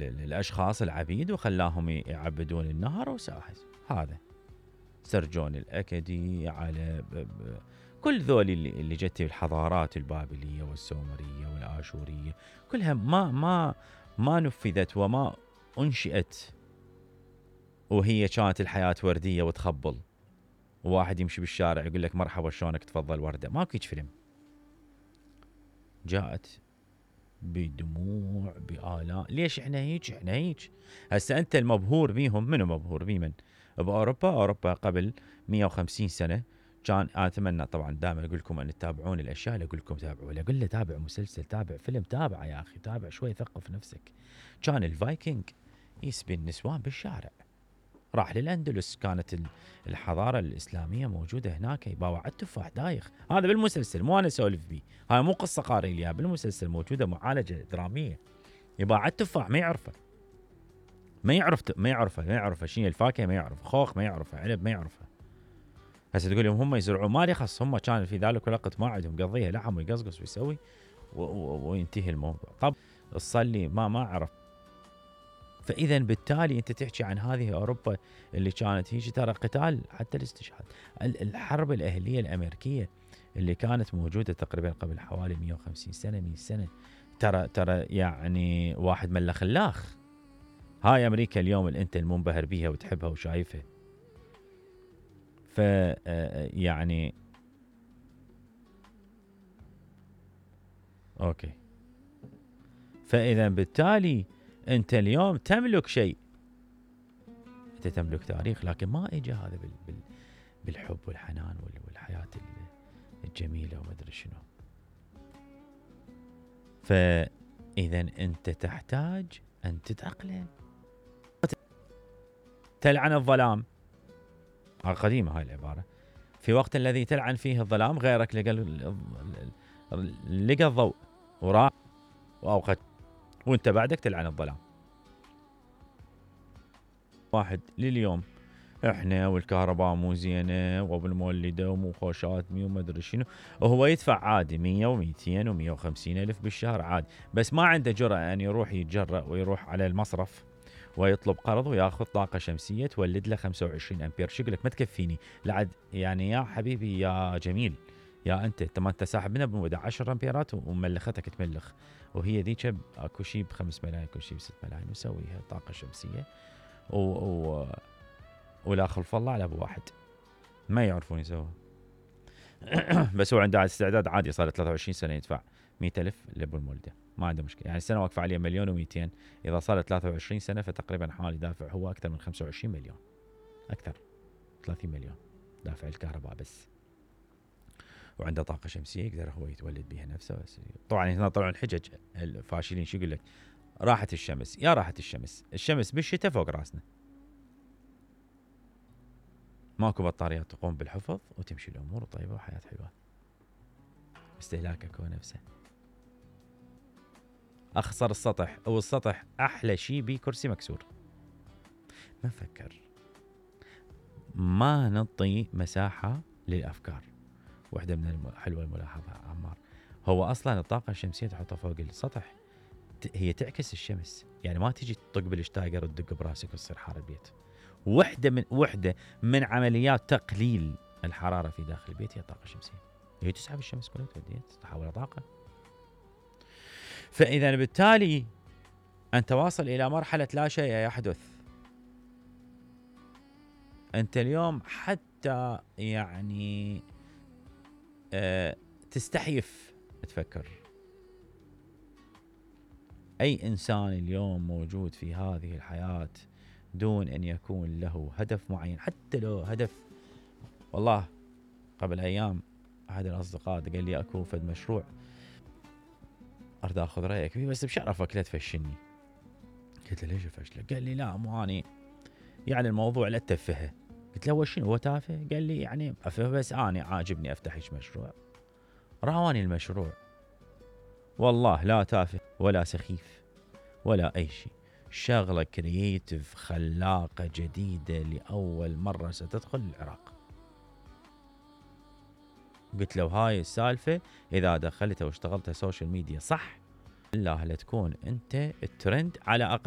الاشخاص العبيد وخلاهم يعبدون النهر وساحز. هذا سرجون الاكدي على كل ذول اللي جت الحضارات البابليه والسومريه والاشوريه كلها ما نفذت وما انشئت وهي كانت الحياه ورديه وتخبل، وواحد يمشي بالشارع يقول لك مرحبا شلونك تفضل ورده. ماكو هيج فيلم. جاءت بدموع بآلاء. ليش احنا هيك؟ هسه انت المبهور بيهم. منو مبهور بيمن؟ باوروبا قبل 150 سنه كان. اتمنى طبعا دائما اقول لكم ان تتابعون الاشياء اللي اقول لكم تابعوا، ولا اقول له تابع مسلسل، تابع فيلم، تابع يا اخي، تابع شوي، ثقف نفسك. كان الفايكنج يسبي النسوان بالشارع. راح للاندلس، كانت الحضاره الاسلاميه موجوده هناك، يباوع على التفاح دايخ. هذا بالمسلسل، مو انا اسولف بيه، هاي مو قصه قاري لي بالمسلسل، موجوده معالجه دراميه. يباوع على التفاح ما يعرفه شنو الفاكهه، ما يعرف خوخ، ما يعرفه عنب، ما يعرفه. هسه تقول لهم هم يزرعون، ما لي خص، هم كان في ذلك الوقت ما عندهم، قضيها لحم ويقصقص ويسوي وينتهي الموضوع. طب تصلي ما اعرف. فاذا بالتالي انت تحكي عن هذه اوروبا اللي كانت هيك، ترى قتال حتى الاستشهاد. الحرب الاهليه الامريكيه اللي كانت موجوده تقريبا قبل حوالي 150 سنه 100 سنه، ترى يعني واحد ملا خلاخ. هاي امريكا اليوم اللي انت المنبهر بيها وتحبها وشايفها. ف يعني اوكي. فاذا بالتالي انت اليوم تملك شيء، انت تملك تاريخ، لكن ما اجى هذا بالحب والحنان والحياه الجميله وما ادري شنو. فاذا انت تحتاج ان تتاقلم. تلعن الظلام، قديمه هاي العباره. في وقت الذي تلعن فيه الظلام غيرك لقى الضوء وراح واوقد، وانت بعدك تلعن الظلام. واحد لليوم احنا والكهرباء مو زينه وبالمولده ومو خوشاتني وما ادري شنو، وهو يدفع عادي 100 و200 و150 الف بالشهر عادي، بس ما عنده جرأة ان يروح يتجرأ ويروح على المصرف ويطلب قرض وياخذ طاقه شمسيه تولد له 25 امبير. شقلك ما تكفيني لعد يعني يا حبيبي يا جميل، يا انت ما انت ساحب منها بموده 10 امبيرات وملختك تملخ، وهي ذيك اكو شيء ب5 ملايين، اكو شيء ب6 ملايين، وسويها طاقه شمسيه ولا خلف الله على ابو واحد ما يعرفون يسووها. بس هو عنده استعداد عادي، صار 23 سنه يدفع 100,000 لابو المولده، ما عنده مشكله. يعني السنه واقفه عليه 1,200,000، اذا صار 23 سنه فتقريبا حوالي دافع هو اكثر من 25 مليون، اكثر 30 مليون دافع الكهرباء بس، وعنده طاقه شمسيه يقدر هو يتولد بها نفسه. بس طبعا هنا طلعوا الحجج الفاشلين، شو يقول لك؟ راحت الشمس. يا راحت الشمس بالشتاء فوق راسنا، ماكو بطاريات تقوم بالحفظ وتمشي الامور طيبه وحياه حلوه. استهلاكك هو نفسه. اخسر السطح، او السطح احلى شيء بيه كرسي مكسور. ما نفكر، ما نعطي مساحه للافكار. واحده من حلوه الملاحظه عمار، هو اصلا الطاقه الشمسيه تحطها فوق السطح هي تعكس الشمس، يعني ما تيجي تطق بالشتايجر وتدق براسك وتصير حار البيت. وحده من عمليات تقليل الحراره في داخل البيت هي الطاقه الشمسيه، هي تسحب الشمس كلها توديها تحولها طاقه. فاذا بالتالي انت واصل الى مرحله لا شيء يحدث. انت اليوم حتى يعني تستحيف تفكر. اي انسان اليوم موجود في هذه الحياه دون ان يكون له هدف معين، حتى لو هدف. والله قبل ايام احد الاصدقاء قال لي اكو فد مشروع اريد اخذ رايك فيه، بس بشرفك لا تفشلني. قلت له ليش افشلك؟ قال لي لا مو اني يعني الموضوع لا تفهه. قلت له هو شنو هو تافه؟ قال لي يعني افه، بس اني عاجبني افتح هيك مشروع. راواني المشروع والله لا تافه ولا سخيف ولا اي شيء، شغله كرييتيف خلاقه جديده لاول مره ستدخل العراق. قلت له هاي السالفه اذا دخلتها واشتغلتها سوشيال ميديا صح، بالله لا تكون انت الترند على اقل